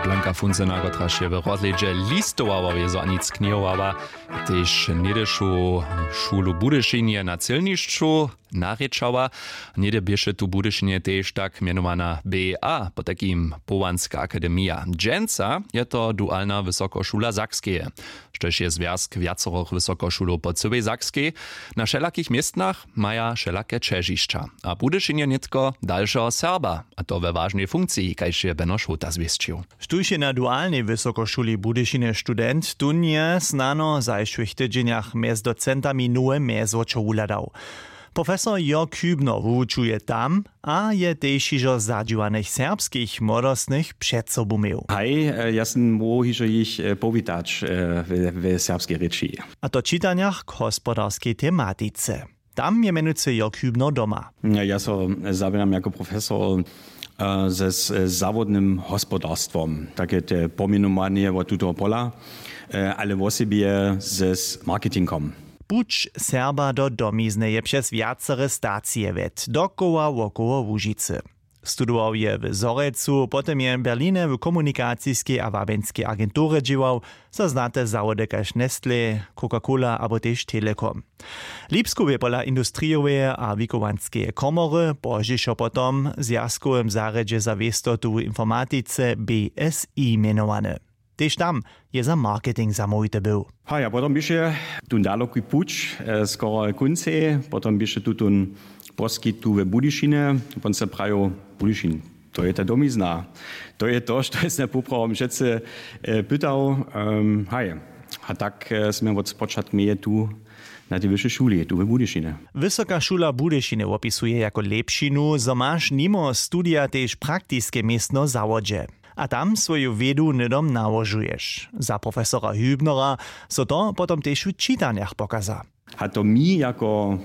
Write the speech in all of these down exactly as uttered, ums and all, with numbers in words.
Blanka Funzena, kotraž je w rozhlědźe listowała wězo a nic knihowała, tež něhdyšu šulu w Budyšinje na cylnišću narěčała. Něhdy běše tu w Budyšinje tež tak mjenowana B A, potajkim Połanska akademija. Dźensa je to dualna wysokošula Sakskeje, štož je zwjazk wjacorych wysokošulow po cyłej Sakskej. Na wšelakich městnach maja wšelake ćežišća a w Budyšinje nětko dalšeho Serba, a to we wažnej funkciji, kaž je Beno Šołta zwěsćił. Štóž je na dualnej wysokošuli w Budyšinje student, tón je snano w zašłych tydźenjach mjez docentami nowe mjezwočo wuhladał. Profesor Jörg Hübner wuwučuje tam a je tež hižo zadźiwanych serbskich młodostnych před sobu měł. Haj, e, ja sym móhł hižo jich, e, powitać, e, we, we serbskej rěči. A to w čitanjach k hospodarskej tematice. Tam je mjenujcy Jörg Hübner doma. Ja so zawěram jako profesor, e, ze, z zawodnym hospodarstwom, take te pomjenowanje wot tutoho pola, e, ale wosebje ze, z marketingom. Puć Serba do domizny je přez wjacere stacije wjedł, dokoła wokoło Łužicy. Studował je w Zhorjelcu, potom je w Berlinje w komunikaciskej a wabjenskej agenturje dźěłał za znate zawody kaž Nestlé, Coca-Cola abo tež Telekom. Lipsku bě pola industrijoweje a wikowanskeje komory pozdźišo potom w zwjazkowym zarjedźe za wěstotu w informatice B S I mjenowany. Tež tam je za marketing zamołwity był. Haj, a potom běše tón daloki puć, e, skoro kóncej, potom běše tutón poskitk tu we Budyšinje, wón se prajił: Budyšin, to je ta domizna. To je to, što je sym poprawom přecy, e, pytał. Em, haj, a tak, e, smy wot spočatk měli tu na tej wyšej šuli tu we Budyšinje. Wysoka šula w Budyšinje wopisuje jako lěpšinu, zo maš nimo studija tež praktiske městno w zawodźe a tam swoju wědu hnydom nałožuješ. Za profesora Hübnera so to potom tež w čitanjach pokaza. A to mi jako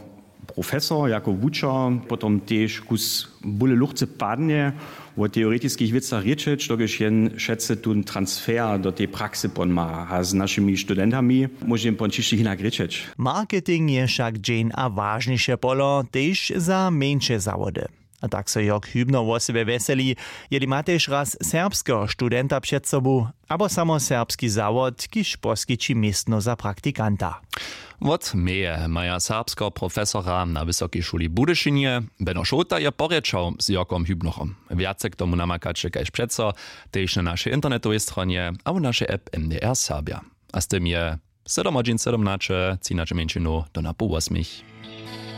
profesor, jako wučer potom tež kus bóle luchce padnje, wo teoretiskich wěcach rěčeć, dokelž jen wšetcy tón transfer do tej praksy pon ma a z našimi studentami móže jen pon ćišće hinak rěčeć. Marketing je wšak dźeń a wažniše polo tež za mjeńše zawody. A tak so Jörg Hübner wosebje wjeseli, jeli ma tež raz serbskeho studenta před sobu abo samo serbski zawod, kiž poskići městno za praktikanta. Wot meje maja serbskeho profesora na Wysokej šuli w Budyšinje. Beno Šołta je porěčał z Jörgom Hübnerom. Wjace k tomu namakaće kaž přeco tež na našej internetowej stronje abo našej app M D R Serbja. A z tym je sedom hodźin sedmnaće, třinaće mjeńšinow do napoł wosmich.